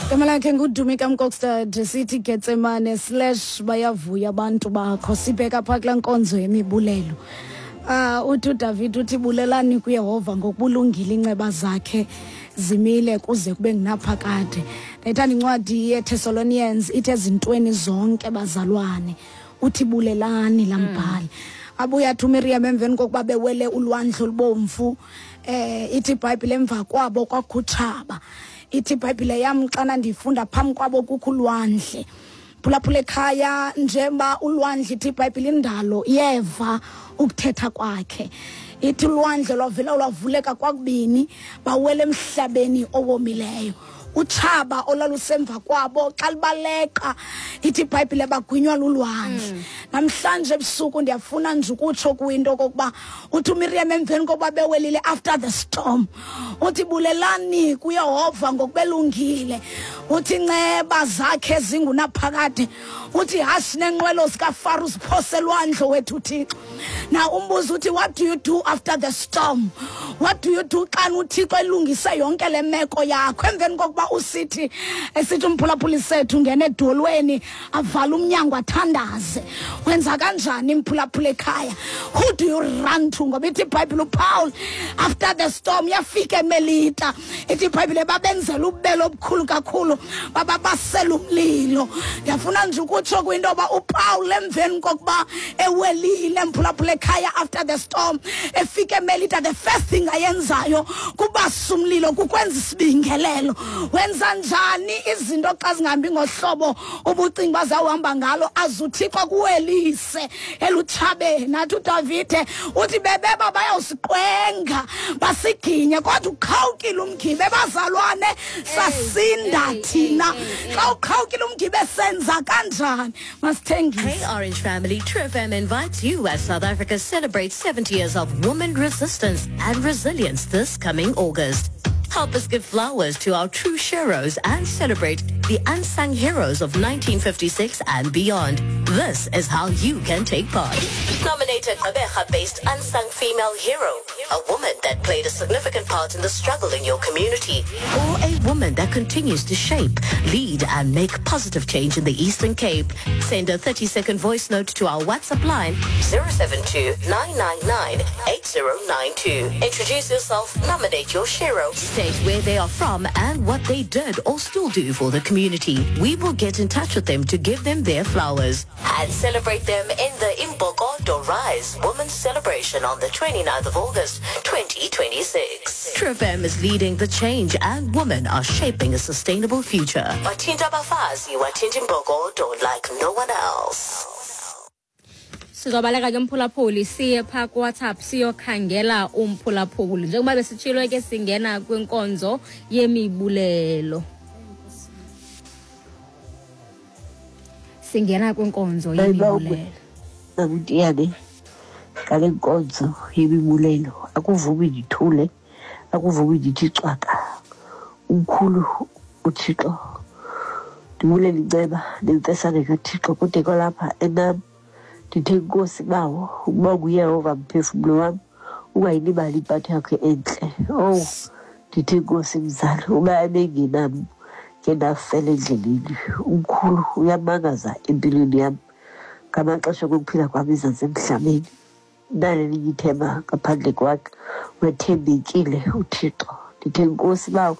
Igama lakhe nguDumi kaMkokstad, sithi Getsemane slash bayavuya abantu bakho. Sibheka phaa kulaa nkonzo yemibulelo. Uthi uDavid uthi bulelani kuYehova ngokubulungile, inceba zakhe zimile kuze kube ngunaphakade. Ndayithanda incwadi yeThessalonians, ithi ezintweni zonke bazalwane, uthi bulelani laa mbhali. Abuye athi uMiriam emveni kokuba bewele ulwandle olubomvu, ithi iBhayibhile emva kwabo kwakhutshaba. Ithi iBhayibhile yam xana ndiyifunda phambi kwabo kukho ulwandle. Phulaphula ekhaya, njengoba ulwandle ithi iBhayibhile indalo yeva ukuthetha kwakhe. Ithi ulwandle lwavela lwavuleka kwakubini, bawela emhlabeni owomileyo. Utshaba olwalusemva kwabo xa libaleqa, ithi iBhayibhile bagwinywa lulwandle. Namhlanje ebusuku ndiyafuna nje ukutsho kwinto okokuba uthi uMiriam emveni kokuba bewelile after the storm, uthi bulelani kuYehova ngokubelungile, uthi inceba zakhe zingunaphakade, uthi hashi nenqwelo zikaFaro ziphose elwandle wethu Thixo. Now umbuzo uthi what do you do after the storm? What do you do xa uThixo elungise yonke le meko yakho? Emveni kokuba usithi esithi umphulaphuli sethu ngena edolweni avala umnyango athandaze, wenza kanjani imphulaphula ekhaya? Who do you run to? Ngoba ithi iBhayibhile uPaul after the storm yafika eMelita, ithi iBhayibhile babenzela ububele obukhulu kakhulu, bababasela umlilo. Ndiyafuna nje ukutsho kwinto yoba uPaul emveni kokuba ewelile mphulaphula ekhaya after the storm efika eMelita, the first thing ayenzayo kubasa umlilo, kukwenza isibingelelo. Wenza njani izinto xa zingahambi ngohlobo ubucinga uba zawuhamba ngalo? Aze uThixo akuwelise elutshabeni. Athi uDavide uthi bebeba bayawusiqwenga basiginye, kodwa uqhawukile umgibe, bazalwane sasinda thina. Xa uqhawukile umgibe senza kanjani? Masithengise. Hey Orange family, True FM invites you as South Africa celebrates 70 years of women resistance and resilience this coming August. Help us give flowers to our true sheroes and celebrate the unsung heroes of 1956 and beyond. This is how you can take part. Nominate a Gqeberha-based unsung female hero, a woman that played a significant part in the struggle in your community, or a woman that continues to shape, lead, and make positive change in the Eastern Cape. Send a 30-second voice note to our WhatsApp line 072-999-8092. Introduce yourself, nominate your shero, state where they are from and what they did or still do for the community. We will get in touch with them to give them their flowers and celebrate them in the Imbokodo Rise Women's Celebration on the 29th of August, 2026. True FM is leading the change and women are shaping a sustainable future. Wathinta abafazi, wathinta imbokodo like no one else. Sizobaleka ke mphulaphuli, siye phaa kuWhatsApp siyokhangela umphulaphuli. Njengoba besitshilo ke singena kwinkonzo yemibulelo. Singena kwinkonzo yemibulelo. Namntiyane ngale nkonzo yemibulelo, akuvumi ndithule, akuvumi ndithi cwaka. Umkhulu uThixo, ndibulela inceba nemfesane kaThixo kude kwalapha enam. Ndithe Nkosi bawo, ukuba nguYehova mphefumlo wam, ungayilibali impatho yakho entle. Oh, ndithe Nkosi mzali, uba ebengenam ke ndafela endleleni. Umkhulu uyamangaza empilweni yam ngamaxesha okuphila kwam ezantsi emhlabeni. Nalelinye ithemba ngaphandle kwakhe, wethembekile uThixo. Ndithe Nkosi bawo,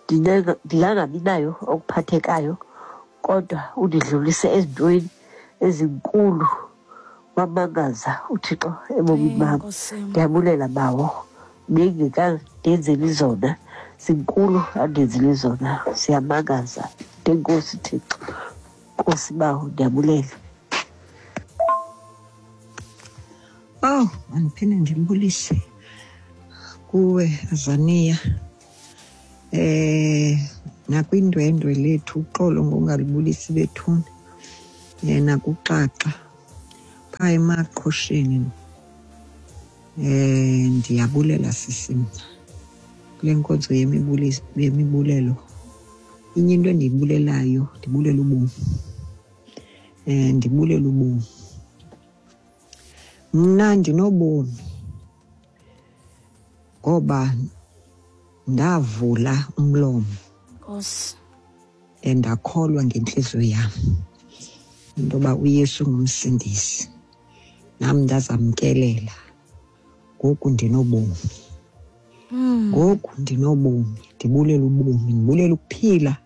ndingangabi nayo okuphathekayo, kodwa undidlulise ezintweni ezinkulu. Wamangaza uThixo ebomini bam. Ndiyabulela bawo, bengekandenzeli zona, zinkulu andenzeli zona, ziyamangaza. Ntenkosi Thixo, Nkosi bawo, ndiyabulela. Oh, mandiphinde ndimbulise kuwe Azania. Nakwindwendwe lethu uxolo ngongalibulisi bethuna. Nakuxaxa phaa emaqhosheni. Ndiyabulela sisi mna kule nkonzo yemibulelo. Inye into endiyibulelayo, ndibulela ubomi. Ndibulela ubomi. Mna ndinobomi ngoba ndavula umlomo. Nkosi. And ndakholwa ngentliziyo yam into yoba uYesu ngumsindisi, nam ndazamkelela. Ngoku ndinobomi. Ngoku ndinobomi, ndibulela ubomi, ndibulela ukuphila,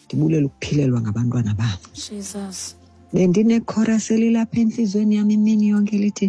ndibulela ukuphilelwa ngabantwana bam. Jesus. Bendinekhorasi elilapha entliziyweni yam imini yonke lithi,